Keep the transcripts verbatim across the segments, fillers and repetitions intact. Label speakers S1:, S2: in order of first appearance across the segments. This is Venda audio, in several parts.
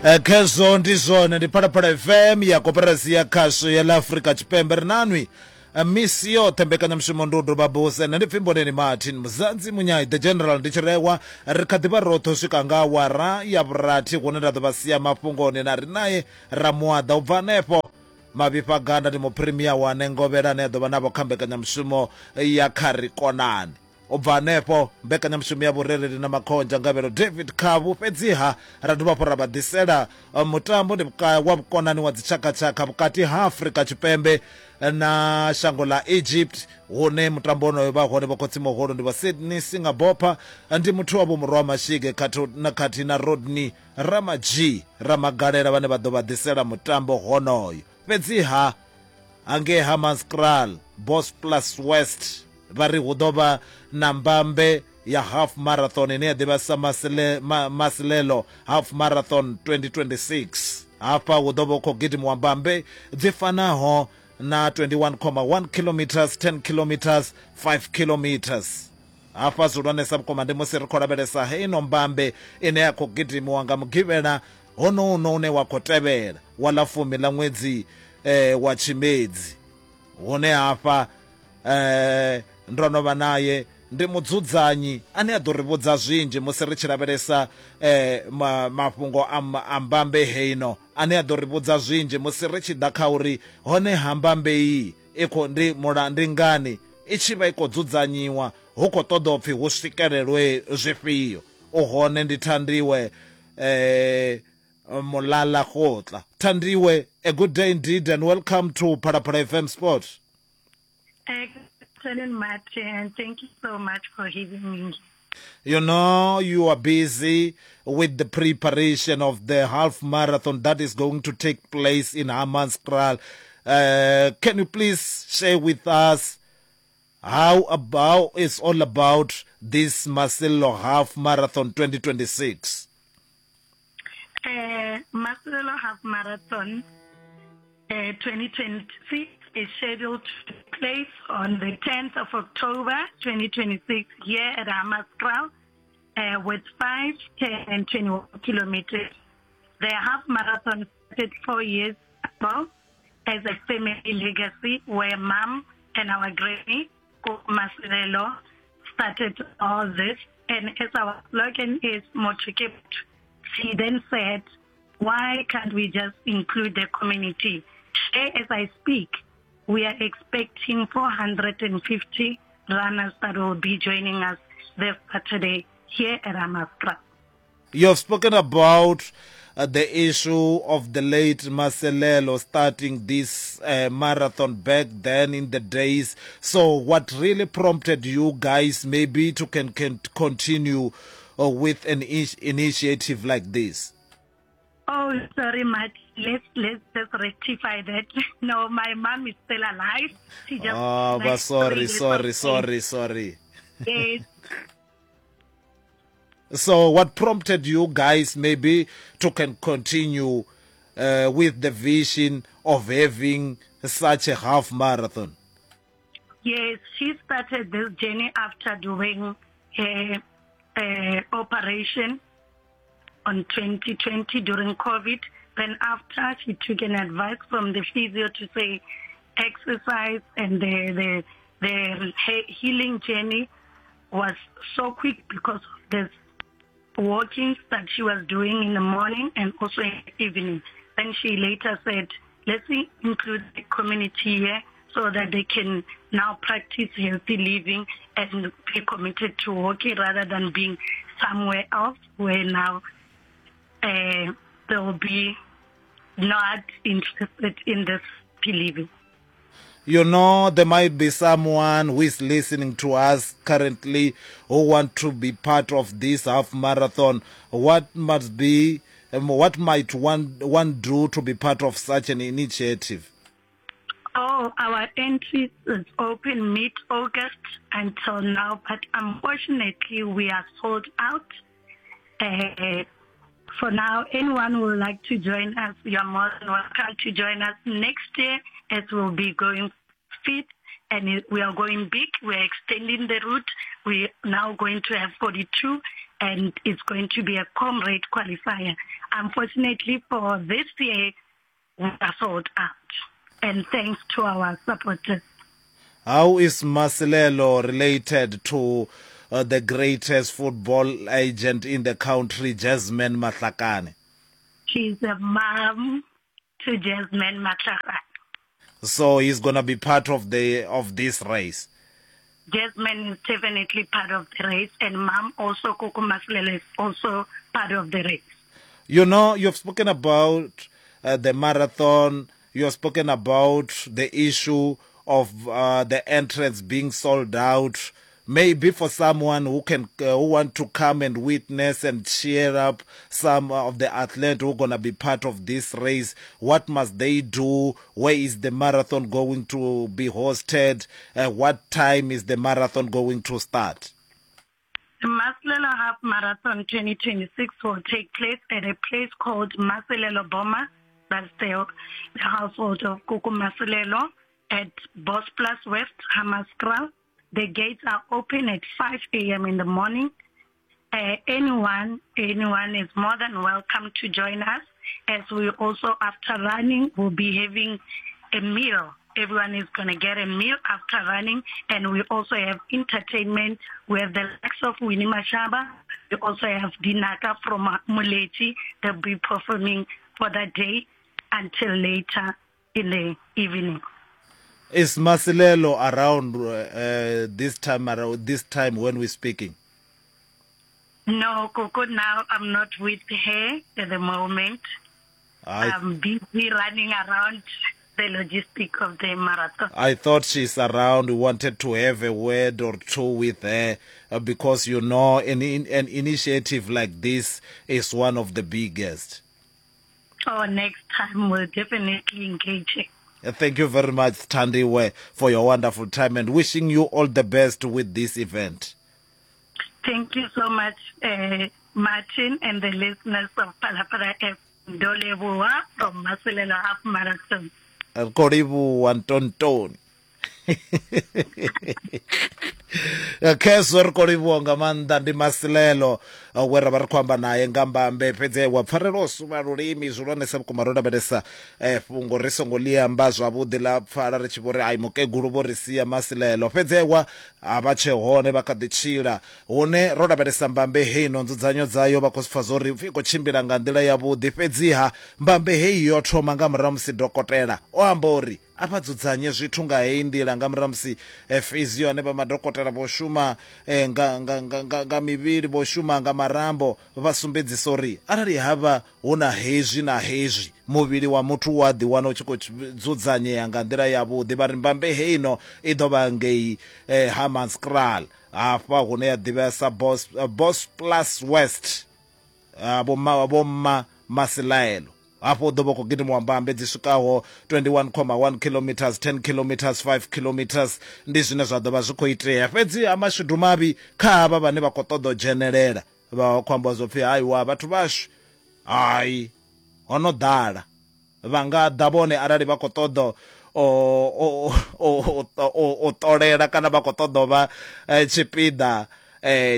S1: Eh, khezwo ndi zwone ndi Phalaphala F M ya koporasi ya khasho ya ḽa Afrika Tshipembe. Ri nanwi misi yoṱhe mbekanyamushumo ndi u doba buse. Nṋe ndi pfi Mboneni Martin Muzanzi Munyai the General ndi tshirewa. Ri kha ḓivha roṱhe u swika nga awara ya vhurathi hune nda ḓo vha sia mafhungoni na ri naye Ramuaḓa. U bva hanefho Mavhifha Ganda ndi muphirimia wa Nengovhela ane a ḓo vha navho kha mbekanyamushumo ya Kha Ri Konane. U bva hanefho mbekanyamushumo ya vhurereli na makhonzha Ngavhelo David Khavhu. Fhedziha ra dovha hafhu ra vha ḓisela mutambo ndi wa vhukonani wa dzitshakatshaka vhukati ha Afrika Tshipembe na shango ḽa Egypt, hune mutambo wonoyo vha hone vho khotsi muhulu ndi vho Sydney Singabopha, ndi muthu wa vho Murwa Mashige na khathihi na Rodney Ramaji Ramagalela vhane vha ḓo vha ḓisela mutambo honoyo. Fhedziha hangei Hammanskraal Boss Plus West vha ri hu ḓo vha na mbambe ya half marathon ine ya ḓivha sa Masile, Ma, Masilelo half marathon twenty twenty-six. Hafha hu ḓo vha hu khou gidimiwa mbambe dzi fanaho na twenty-one comma one kilometers, ten kilometers, five kilometers. Hafha zwihulwanesa vhukuma ndi musi ri khou lavhelesa heino mbambe ine ya khou gidimiwa nga mugivhela honouno une wa khou tevhela wa ḽa fumi ḽa ṅwedzi eh, wa Tshimedzi, hune hafha eh ndo no vha naye ndi mudzudzanyi ane a ḓo ri vhudza zwinzhi musi ri tshi lavhelesa eh mafhungo a mbambe heino, ane a ḓo ri vhudza zwinzhi musi ri tshi ḓa kha uri hone ha mbambe iyi i khou ndi mula ndi ngani i tshi vha i khou dzudzanyiwa, hu khou ṱoḓa upfi hu swikelelwe zwifhio. U hone ndi Thandiwe eh Mulala Khotla. Thandiwe, a good day indeed and welcome to Phalaphala F M Sport.
S2: Excellent, Martin. Thank you so much for having me.
S1: You know, you are busy with the preparation of the half marathon that is going to take place in Hammanskraal. Uh, can you please share with us how about it's all about this Masilelo Half Marathon twenty twenty-six?
S2: Uh, Masilelo Half Marathon uh, twenty twenty-six is scheduled to take place on the tenth of October twenty twenty-six here at Hammanskraal uh, with five, ten and twenty-one kilometers. The half marathon started four years ago as a family legacy where mom and our granny, Masilelo, started all this. And as our slogan is, Motho ke motho, she then said, why can't we just include the community? Today, as I speak, we are expecting four hundred fifty runners that will be joining us this Saturday here at Hammanskraal.
S1: You have spoken about uh, the issue of the late Masilelo starting this uh, marathon back then in the days. So what really prompted you guys maybe to can, can continue uh, with an initiative like this?
S2: Oh, sorry, Matt. Let's let's just rectify that. No, my mom is still alive. She just
S1: oh, but sorry, sorry, sorry, sorry.
S2: Yes.
S1: So, what prompted you guys maybe to can continue uh, with the vision of having such a half marathon?
S2: Yes, she started this journey after doing a, a operation on twenty twenty during COVID. Then after, she took an advice from the physio to say exercise, and the, the, the healing journey was so quick because of this walking that she was doing in the morning and also in the evening. Then she later said, let's include the community here so that they can now practice healthy living and be committed to walking rather than being somewhere else where now uh, they'll be not interested in this living.
S1: You know, there might be someone who is listening to us currently who want to be part of this half marathon. What must be, um, what might one, one do to be part of such an initiative?
S2: Oh, our entry is open mid-August until now, but unfortunately we are sold out. Uh, for now, anyone who would like to join us, you are more than welcome to join us next year, as we'll be going fit and we are going big. We're extending the route. We're now going to have forty-two and it's going to be a comrade qualifier. Unfortunately for this year, we are sold out, and thanks to our supporters.
S1: How is Masilelo related to uh, the greatest football agent in the country, Jasmine Matlakane?
S2: She's a mom to Jasmine Matlakane.
S1: So he's gonna be part of the of this race.
S2: Jasmine is definitely part of the race, and mom also, Koko Masilelo, is also part of the race.
S1: You know, you've spoken about uh, the marathon. You've spoken about the issue of uh, the entrance being sold out. Maybe for someone who can uh, who want to come and witness and cheer up some of the athletes who are gonna be part of this race, what must they do? Where is the marathon going to be hosted? Uh, what time is the marathon going to start?
S2: The Masilelo Half Marathon twenty twenty-six will take place at a place called Masilelo Boma. That's the, the household of Koko Masilelo at Bos Plus West, Hammanskraal. The gates are open at five A M in the morning. Uh, anyone, anyone is more than welcome to join us, as we also, after running, will be having a meal. Everyone is gonna get a meal after running, and we also have entertainment. We have the likes of Winnie Mashaba. We also have Dinaka from Moleti. They'll be performing for that day until later in the evening.
S1: Is Masilelo around, uh, this time around, this time when we're speaking?
S2: No, Coco, now I'm not with her at the moment.
S1: I
S2: I'm busy running around the logistic of the marathon.
S1: I thought she's around. We wanted to have a word or two with her, uh, because, you know, an, an initiative like this is one of the biggest.
S2: Oh, next time we'll definitely engage her.
S1: Uh, Thank you very much, Thandiwe, for your wonderful time, and wishing you all the best with this event.
S2: Thank you so much, uh, Martin, and the listeners of Phalaphala F M. Ndoleboa from Masilelo Half Marathon.
S1: Koribu Antontoni. Khezwo ri khou livhuwa nga maanḓa ndi Masilelo we ra vha ri khou amba naye nga mbambe, fhedzi wa pfarelo o suvha lulimi zwihulwanesa vhukuma. Ro lavhelesa fhungo ri songo ḽi amba zwavhuḓi ḽa pfala ri tshi vho ri ai mukegulu vho ri sia Masilelo, fhedzi wa a vha tshe hone vha kha ḓi tshila. Hune ro lavhelesa mbambe heino nzudzanyo dzayo vha khou pfa zwo ri i khou tshimbila nga nḓila yavhuḓi, fhedziha mbambe heyi yo thoma nga murahu musi dokotela o amba uri a vha dzudzanye zwithu nga heyi nḓila, nga murahu musi physio ane vha madokotela vho shuma nga nga nga nga mivhili, vho shuma nga marambo, vha sumbedzisa uri arali havha hu na hezwi na hezwi muvhili wa muthu wa ḓi wana u tshi khou dzudzanyea nga nḓila yavhuḓi. Vha ri mbambe heino i ḓo vha ngei Hammanskraal, hafha hune ya ḓivhea sa Bos Bos Plus West, vho vho mma Masilaelo. Hafho ḓo vha khou gidimiwa mbambe dzi swikaho twenty-one comma one kilometers, ten kilometers, five kilometers, ndi zwine zwa ḓo vha zwi khou itea. Fhedzi ha mashudu mavhi kha havha vhane vha khou ṱoḓa u dzhenelela, vha khou amba zwo pfhi haiwa vhathu vhashu hai ho no ḓala, vha nga ḓa vhone arali vha khou ṱoḓa o o ṱolela kana vha khou ṱoḓa u vha tshipiḓa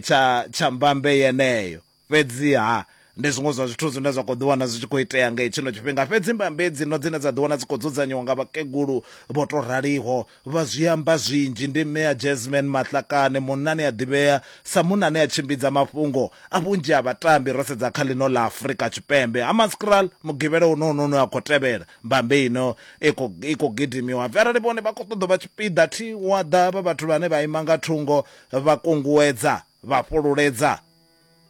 S1: tsha tsha mbambe yeneyo. Fhedziha ndi zwiṅwe zwa zwithu zwine zwa khou ḓiwana zwi tshi khou itea nga tshino tshifhinga. Fhedzi mbambe dzino dzine dza ḓiwana dzi khou dzudzanyiwa nga vhakegulu vho to raliho vha zwi amba zwinzhi. Ndi mme ya Jasmine Matlakane, munna ane a ḓivhea sa munna ane a tshimbidza mafhungo a vhunzhi ha vhatambi ro sedza kha ḽino ḽa Afrika Tshipembe. Hammanskraal mugivhela uno uno a khou tevhela mbambe ino i khou i khou gidimiwa. Arali vhone vha khou ṱoḓa vha tshipiḓa thi wa ḓa vha vhathu vhane vha ima nga thungo vha kunguwedza vha fhululedza,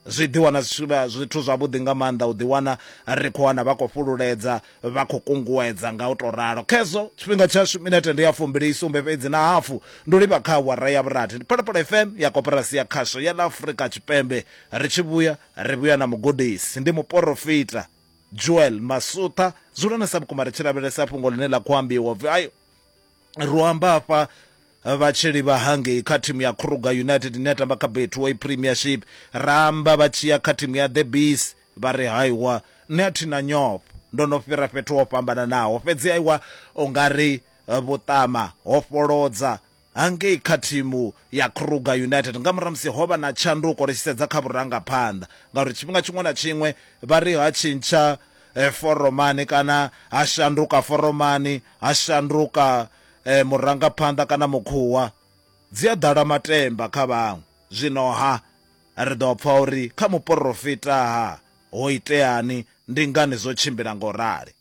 S1: zwi ḓiwana zwithu zwavhuḓi nga maanḓa u ḓiwana ri khou wana vha khou fhululedza vha khou kunguwedza nga u to ralo. Khezwo tshifhinga tshashu minete ndi ya fumbili sumbe fhedzi na hafu, ndo livha kha awara ya vhurathi. Ndi Phalaphala F M ya Koporasi ya Khasho ya ḽa Afrika Tshipembe. Ri tshi vhuya ri vhuya na mugudisi, ndi muporofita Joel Masutha. Zwihulwanesa vhukuma ri tshi lavhelesa fhungo ḽine ḽa khou ambiwa pfhi ayo ro amba hafha vha tshi livha hangei kha thimu ya Kruger United ine ya tamba kha Betway Premiership, ra amba vha tshi ya kha thimu ya The Bees vha ri haiwa nṋe a thi na nyofho, ndo no fhira fhethu ho fhambananaho, fhedzi aiwa u nga ri vhuṱama ho fholodza Hangei kha thimu ya Kruger United nga murahu musi ho vha na tshanduko ri tshi sedza kha vhurangaphanḓa, ngauri tshifhinga tshiṅwe na tshiṅwe vha ri ha tshintsha foromani kana ha shanduka foromani, ha shanduka murangaphanḓa kana mukhuwa, dzi a ḓala matemba kha vhaṅwe. Zwino ha ri ḓo pfa uri kha muporofita ha ho iteani, ndi ngani zwo tshimbila ngo rali.